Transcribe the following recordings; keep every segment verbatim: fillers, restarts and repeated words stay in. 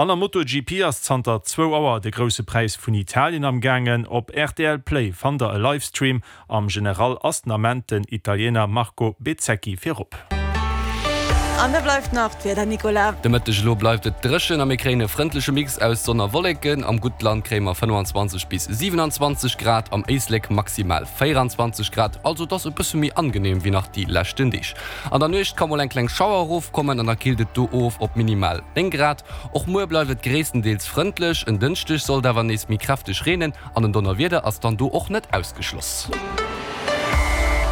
An der MotoGP ass zanter zwou Auer de Grousse Präis vun Italien am gaangen. Op rtl Play fannt der e Livestream. Am General ass den Ament den Italiener Marco Bezzecchi virop. An da bleift nach d'Wieder, Nicolas. De Mëtteg elo bleift et dréchen a mir kréien e frëndleche Mix aus Sonn a Wolleken. Am Guttland kréie mer fënnwanzwanzeg bis siwenanzwanzeg Grad, am Éislek maximal véieranzwanzeg Grad, also et ass e bësse méi angeneem wéi nach déi leschten Deeg. An der Nuecht ka mol eng kleng Schauer erofkommen an da killt et do of op minimal néng Grad. Och muer bleift et gréisstendeels frëndlech, en Dënschdeg soll et awer nees méi kräfteg reenen an en Donnerwieder ass dann do och net ausgeschloss.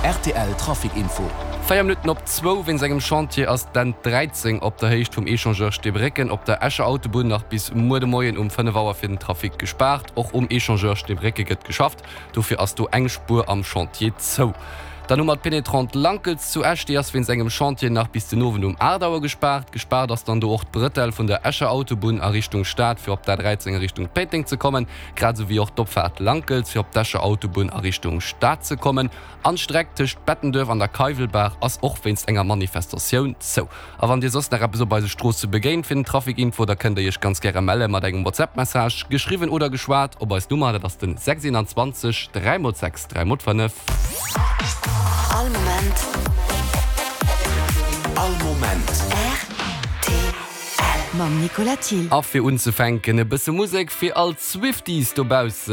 Rtl Trafic Info. Véier Minutten op zwou, Wéinst engem Chantier ass d'N dräizéng op der Héicht vum Echangeur Steebrécken op der Escher Autobunn nach bis muer de Moien um fënnef Auer fir den Trafic gespaart. Och um Echangeur Steebrécke gëtt geschafft, dofir ass do eng Spuer am Chantier zou. Dann hu mer d'Pénétrante Lankels zu Esch, déi ass wéinst engem Chantier nach bis den Owend um aacht Auer gespaart. Gespaart ass dann do och d'Bretelle vun der Escher Autobunn a Richtung Stad fir op d'A dräizéng a Richtung Péiteng ze kommen, grad esou wéi och d'Opfaart Lankels fir op d'Escher Autobunn a Richtung Stad ze kommen. An d'Streck tëscht Bettenduerf an der Keiwelbaach ass och wéinst enger Manifestatioun zou. A wann Dir soss nach eppes op eise Stroosse begéint fir den Trafic Info, da kënnt Dir Iech ganz gäre melle mat engem WhatsApp Message, geschriwwen oder geschwat, op eis Nummer, dat ass den sechs eenanzwanzeg dräi mol sechs dräi mol fënnef. All Moment. All Moment. Rtl mam Nicolas Thill. A fir unzefänken e bësse Musek fir all d'Swifties dobaussen.